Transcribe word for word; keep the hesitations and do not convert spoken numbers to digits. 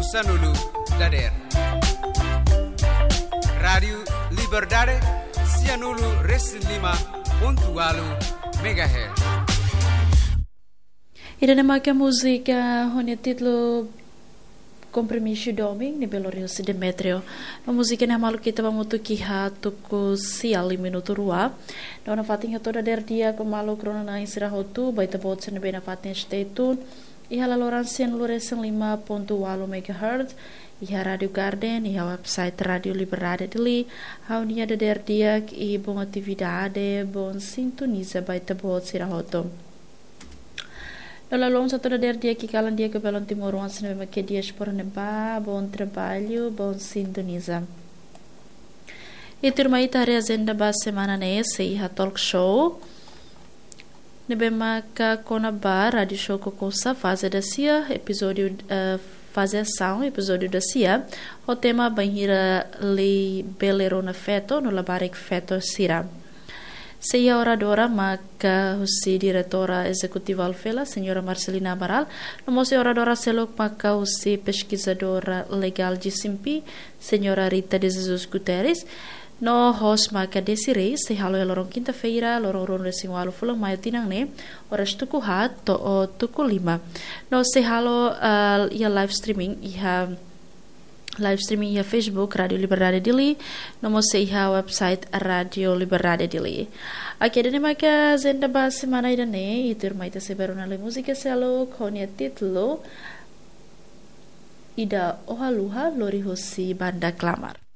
Sanulu dader. Rádiu Liberdade, sianulu resin lima pontu walu megahertz. Ida-ne'e maka múzika ho nia títulu Kompromisu Domin, ne'ebé lori husi Demetrio. No múzika ne'e hamaluk ita ba hamutuk iha tuku sia liu minutu rua. No nafatin hato'o dader di'ak ba maluk rona-na'in sira hotu, ba ita-boot sira ne'ebé nafatin stay tune iha laloran sianulu resin lima pontu walu megahertz, iha Rádiu Garden, iha website Rádiu Liberdade Dili, ha'u-nia dader di'ak i bon atividade, bon sintoniza ba ita-boot sira hotu. No lalon hato'o dader di'ak i kalan di'ak ba belun timoroan sira ne'ebé mak iha diáspora ne'ebá, bon trabalho, bon sintoniza. I tuirmai ita haree ajenda ba semana ne'e, sei iha talk show ne'ebé maka kona-ba Rádiu Show Kokosa, faze dasia, epizódiu, eh, faze asaun, epizódiu dasia, ho tema bainhira lei bele rona feto no labarik feto sira. Sei iha oradora maka husi diretora ezekutiva Alfela, Señora Marcelina Amaral, no mós oradora seluk maka husi peskizadora legál G C M P, Señora Rita de Jesus Guterres, no host maka Desiree, sei halo iha loron kinta-feira, loron ruanulu resin walu fulan Maiu tinan ne'e, oras tuku haat to'o tuku lima. No sei halo, ah, iha live streaming, iha live streaming iha Facebook Rádiu Liberdade Dili, no mós sei iha website Rádiu Liberdade Dili. Oke, ida-ne'e maka ajenda ba semana ida-ne'e, i tuirmai ita sei bá rona lai múzika seluk ho nia títulu Ida Ohaluha, lori husi Banda Klamar.